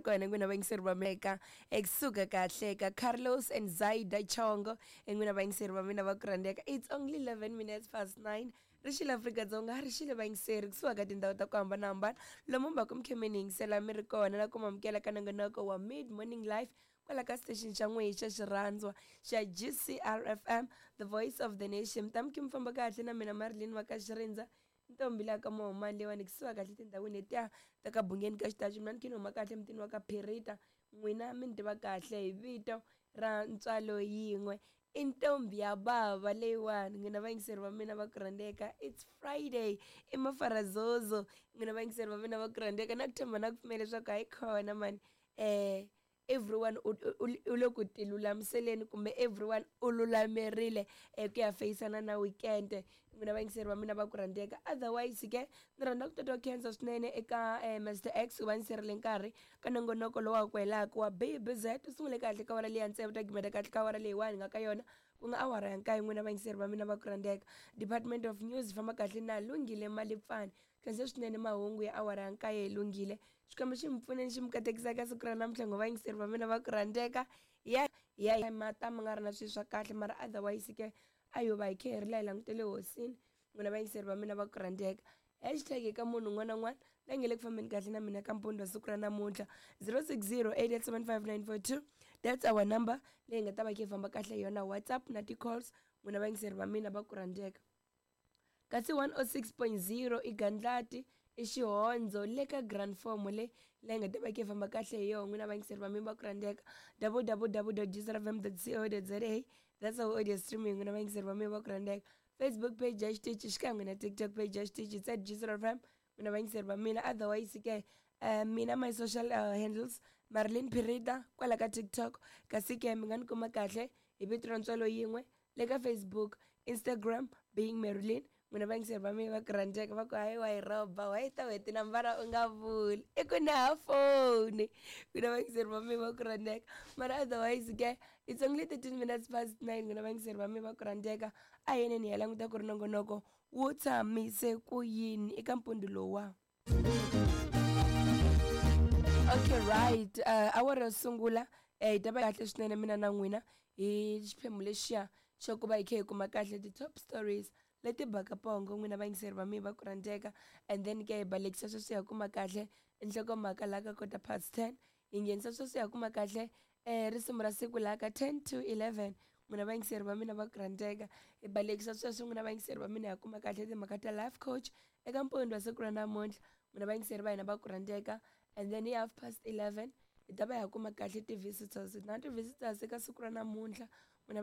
Kona n'wina vayingiseri va meka ekusuka kahle ka Carlos and Zaida Chongo, n'wina vayingiseri va mina va ku rhandzeka. It's only 11 minutes past 9. Ri xile Afrika-Dzonga, ri xile vayingiseri kusuka ka tindhawu ta ku hambanahambana lomu mi va ku mi khe mi ni yingisela mi ri kona na ku mamukela ka nongonoko wa Mid Morning Life kwala ka station xa n'wehe xa xirhandzwa xa GCRFM, the voice of the nation. Mi ta mi khe mi famba kahle na mina Marilyn wa ka Xirindza, ntombi laha ka Mohomani leyiwani, kusuka kahle tindhawini letiya ta ka Bungeni ka Xitachi. Mina ni khe ni huma kahle mutini wa ka Phirita. N'wina mi ni tiva kahle hi vito ra ntswalo yin'we, i ntombi ya bava leyiwani. N'wina vayingiseri va mina va ku rhandzeka, it's Friday, i mafarazozo. N'wina vayingiseri va mina va ku rhandzeka, na ku tshemba na ku pfumela leswaku hayi khona mani, everyone u le ku tilulamiseleni kumbe everyone u lulamerile ku ya feyisana na weekend. N'wina vayingiseri va mina va ku rhandzeka, otherwise ke ni rhandza ku titwa khensa swinene eka Mr X ku va ni sirile nkarhi ka nongonoko lowu wa ku helaka wa BBZ. U sungule kahle ka awara leyi ya tsevu, ta gimeta kahle ka awara leyiwani hi nga ka yona, ku nga awara ya nkaye. N'wina vayingiseri va mina va ku rhandzeka, Department of News famba kahle na Lunghile Malipfani. Khensa swinene mahungu ya awara ya nkaye. Lunghile, Xikwembu xi mi pfuneni, xi mi katekisa ka siku ra namuntlha. Ngo vayingiseri va mina va ku rhandzeka, ya ya mata mi nga ri na swilo swa kahle, mara otherwise ke a yo va hi khe hi ri la hi langutele hosini. N'wina vayingiseri va mina va ku rhandzeka, hashtag eka munhu un'wana na un'wana la nge le ku fambeni kahle na mina ka mpundzu wa siku ra namuntlha, 060 8875942, that's our number leyi nga ta va khe hi famba kahle yona, WhatsApp na ti-calls. N'wina vayingiseri va mina va ku rhandzeka, kasi 106.0 i gandlati, i xihondzo le ka Grand Form le leyi nga ta va khe famba kahle hi yona. N'wina vayingiseri va mina va ku rhandzeka, www.gcrfm.co.za, that's our audio streaming. N'wina vayingiseri va mina va ku rhandzeka, Facebook page ya xitichi xikan'we na TikTok page ya xitichi, it's at GCRFM. N'wina vayingiseri va mina, otherwise ke mina my social handles, Marilyn Pirita kwala ka TikTok, kasi ke mi nga ni kuma kahle hi vito ra ntswalo yin'we le ka Facebook, Instagram, being Marilyn. N'wina vayingiseri va mina va ku rhandzeka, va ku hayi wa yi rhoba wa yi ta whe tinambara u nga vuli, i ku na ha foni. N'wina vayingiseri va mina va ku rhandzeka, mara otherwise ke it's only 13 minutes past 9. N'wina vayingiseri va mina va ku rhandzeka, a hi yeneni hi ya languta ku ri nongonoko wu tshamise ku yini eka mpundzu lowuwa. Okay, right, awara yo sungula hi ta va kahle swinene mina na n'wina hi xiphemu lexiya xa ku va hi kha hi kuma kahle ti-top stories leti baka pongo. N'wina vayingiseri va mina va ku rhandzeka, and then ke hi balekisa sweswi hi kuma kahle nhlokomhaka laha ka kota past 10, hi nghenisa sweswi hi kuma kahle risimu ra siku laha ka 10 to 11. N'wina vayingiseri va mina va ku rhandzeka, hi balekisa sweswi. N'wina vayingiseri va mina, hi kuma kahle timhaka ta life coach eka mpundzu wa siku ra namuntlha. N'wina vayingiseri va hina va ku rhandzeka, and then hi half past 11 hi ta va hi kuma kahle ti-visitors na ti-visitors eka siku ra namuntlha, n'wina.